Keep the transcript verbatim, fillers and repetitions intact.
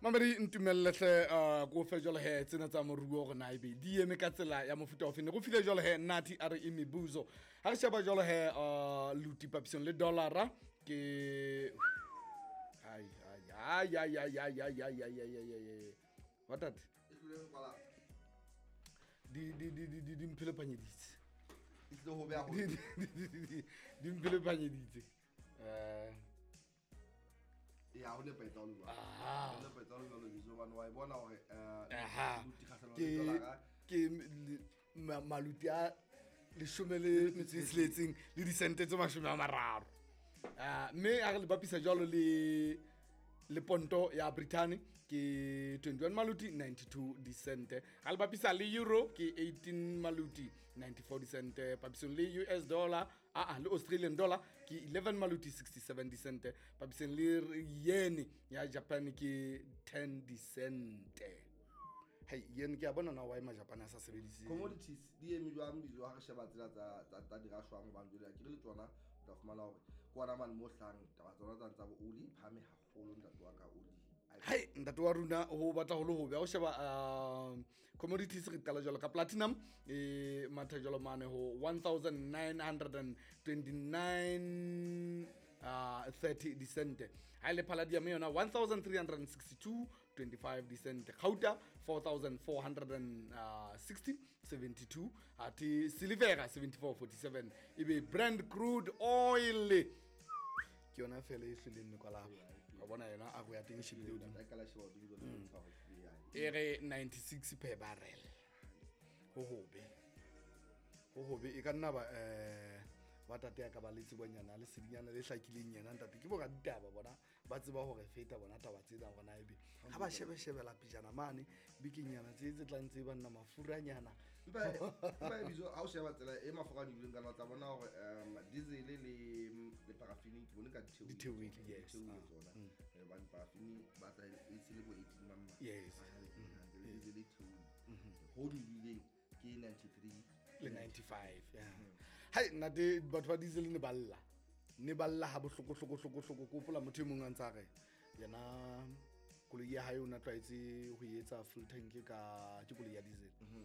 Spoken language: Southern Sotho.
Mamedi, ntumellehle uh, ko fe jwalo he tsena tsa moruo gore na ebe di eme ka tsela ya mofuta ofe. Ne go file jwalo he Nathi a re e mebuzo ha re sheba jwalo he uh, luti papisong le dollara ke ai ai ai ai ai ai ai ai ai ai ai ai ai what that E tlile ho kwala. di di di di di di mphelepanyeditse. E tlile ho beha ho di di di di di di mphelepanyeditse eh Ya, ho nepahetse ha o le jwalo. Aha. Ho nepahetse ha o le jwalo, Bizo, hobane wa e bona hore eh Aha. luti kgahlano le Ke dollar-a. Ke le- ma- maluti a leshome le metso e tsheletseng le disente tse mashome a mararo. Ah, mme a re le bapisa jwalo le le ponto ya Britain ke twenty-one maluti ninety-two disente. Ha le bapisa le euro ke eighteen maluti ninety-four disente. Papisong le U S dollar, ah ah, le Australian dollar ke eleven maluti sixty-seven disente. Papisong le yen ya Japan ke ten disente. Hei, yen ke a bona na why Majapane a sa sebedise. Commodities di eme jwang, Bizo, ha re sheba tsela tsa tsa tsa dirashwang? Hobane jwale akere le tsona o tla fumana hore ke ona mane mo hlang taba tsona tsa tsa bo oli e phahame haholo, ntate wa ka, oli. Hai, ntate wa rona, ho batla ho le hobe ha o sheba uh, commodities. Re qala jwalo ka platinum, e matha jwalo mane ho one thousand nine hundred twenty-nine uh, thirty disente. Ha ile palladium yona one thousand three hundred sixty-two twenty-five disente. Gauta four thousand four hundred sixty seventy-two, athe silivera seventy-four forty-seven. Ebe Brent crude oil ke yona fela e hlileng mekwalaba wa bona yona a go ya teng e shebile hodimo. E ka la sheba hodimo jwale, bontsha hore ke ya E re ninety-six per barrel. Ho hobe, ho hobe. E ka nna ba um ba tate ya ka ba le tsebonyana le sedinyana le hlakileng yena ntate ke bo raditaba bona ba tseba hore feta bona taba tsena gona ebe ha ba shebeshebela pejana mane bekenyana tse tse tlang tse banna mafuranyana. Empa empa e Bizo, ha o sheba tsela e mafura a nyolohileng ka yona, o tla bona hore um diesel le le paraffin ke bone ka di theohile. Di theohile, yes. Di theohile Ah, tsona. Eh, hobane paraffin ba tla e se le bo eighteen mang mang. Yes. Ah, le diesel e theohile. Ho nyolohileng ke ninety-three Le ninety-five, yeah. Hai ntate, batho ba diesel ne ba lla, ne ba lla ha bohloko hloko hloko hloko. Ke hopola motho e mong a ntsa re yena koloi ya hae o na tlwaetse ho etsa full tank ka ke koloi ya diesel.